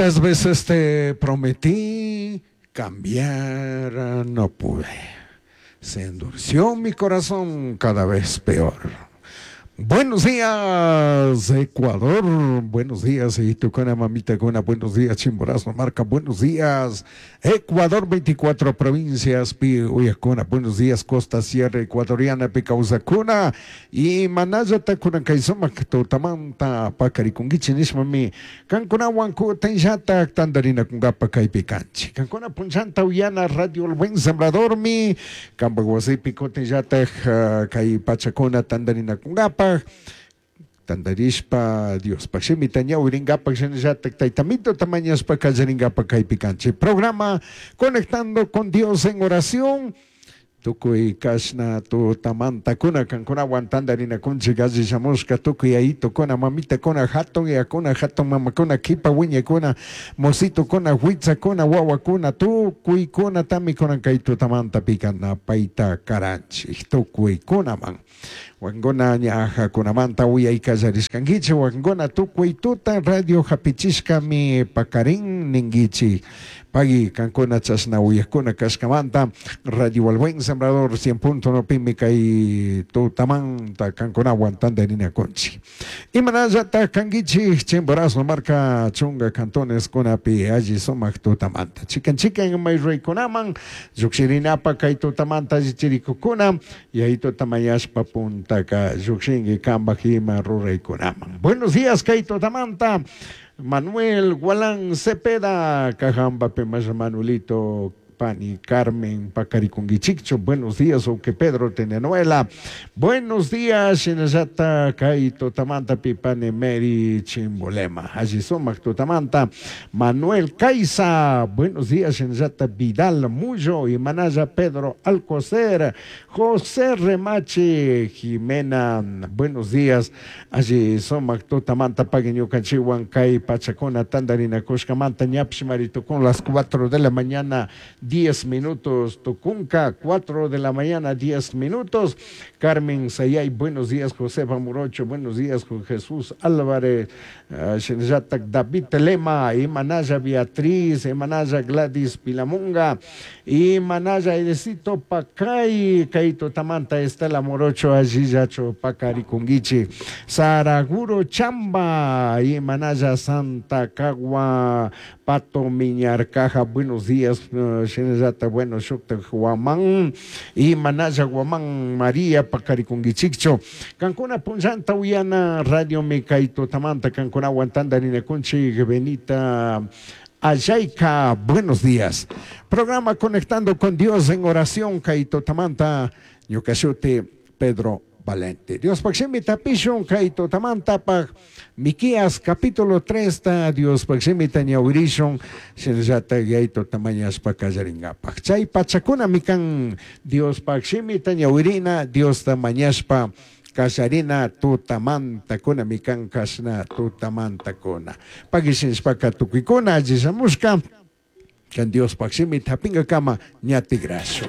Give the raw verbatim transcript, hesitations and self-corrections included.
¿Cuántas veces te prometí cambiar? No pude. Se endureció mi corazón cada vez peor. Buenos días, Ecuador. Buenos días, Itucona, mamita cuna. Buenos días, Chimborazo, Marca. Buenos días, Ecuador, veinticuatro provincias. Uyacuna. Buenos días, Costa Sierra Ecuatoriana, Picausacuna. Y Manaya, Tacuna, Kaizoma, Totamanta, Pacarikunguichi, Nishmami. Kankuna, Wanku, Tenjata, Tandarina, Kungapa, Kaipicanchi. Kankuna, Punchanta, Uyana, Radio El Buen Sembrador, mi. Kambaguasipi, Cotenjata, Kaipachacuna, Tandarina, Kungapa. Tandarishpa Diospaj shimita ñawirinkapak shinallatak taytamito tamañashpa kallarinkapak kaypi kanchik. Programa Conectando con Dios en Oración. Tukuy kashna tutamantakuna kankunawan tandarinakunchik alli shamushka tukuy ayitukuna mamitakuna hatun yakuna hatun mamakuna kipa wiñakuna mositukuna huitzakuna wawakuna tukuykunatami kunan kay tutamanta pikana payta karanchik tukuykunaman. Wankuna ñajakunamanta uyay kallarishkankichik wankuna tukuy tuta radio hapichishkami pakarin ninkichik. Pagui kankuna chashna uyakuna kashkamanta Radio El Buen Sembrador cien punto uno pimi kay tutamanta kankunawan tandarinakunchik. Imanallata kankichik Chimborazo marka chunga cantones kunapi alli sumak tutamanta. Chikan chikan mayraykunaman llukshirinapa kay tutamanta allichirikukuna y ahí tutamayashpa puntaka llukshinki kambaj ima ruraykunaman. Buenos días kay tutamanta. Manuel Gualán Cepeda, Cajamba Pemasha Manuelito Pani Carmen Pacarikunguichicho, buenos días, Oque Pedro Tenenuela, buenos días, Shinayata Kaito Tamanta Pipane Mary Chimbolema, allí Sumac Tutamanta, Manuel Caiza, buenos días, Shinayata Vidal Mullo y Manaya Pedro Alcocer, José Remache Jimena, buenos días, allí Sumac Tutamanta Paguiñucanchihuan Kai Pachacona Tandarina Coscamanta Ñapshmarito con las cuatro de la mañana, diez minutos, Tucunca, cuatro de la mañana, diez minutos. Carmen Sayay, buenos días, José Morocho, buenos días, Jesús Álvarez, uh, David Telema, Imanaya Beatriz, Imanaya Gladys Pilamunga, Imanaya Edecito Pacay, Kaito Tamanta, Estela Morocho, Ajiyacho, Pacarikunguichi, Saraguro Chamba, Imanaya Santa Cagua, Pato Miñarcaja, buenos días, uh, bueno, Shukta Guamán y Manaya Guamán María Pacarikunguichicho, Cancuna Punchanta Uyana Radio Mecaito Tamanta, Cancuna Guantandarina Kunchi, Benita Ayayca, buenos días. Programa Conectando con Dios en Oración, Kaito Tamanta, Ñucashuti, Pedro Valente. Dios Paximi Tapishun, Kaito Tamanta, Paj, Miqueas, capítulo tres, ta Dios Paximi Tañaurishun, Shinayata Yaito Tamañas Pacayaringapaj. Chay Pachacuna Mikan, Dios Paximi Tañaurina, Dios Tamañaspa, Kasharina tutamanta kuna mikan kashna tutamanta kuna. Pagishinspaka tukikuna, allisamushka, kan Dios Paximi Tapinga kama ñatigraso.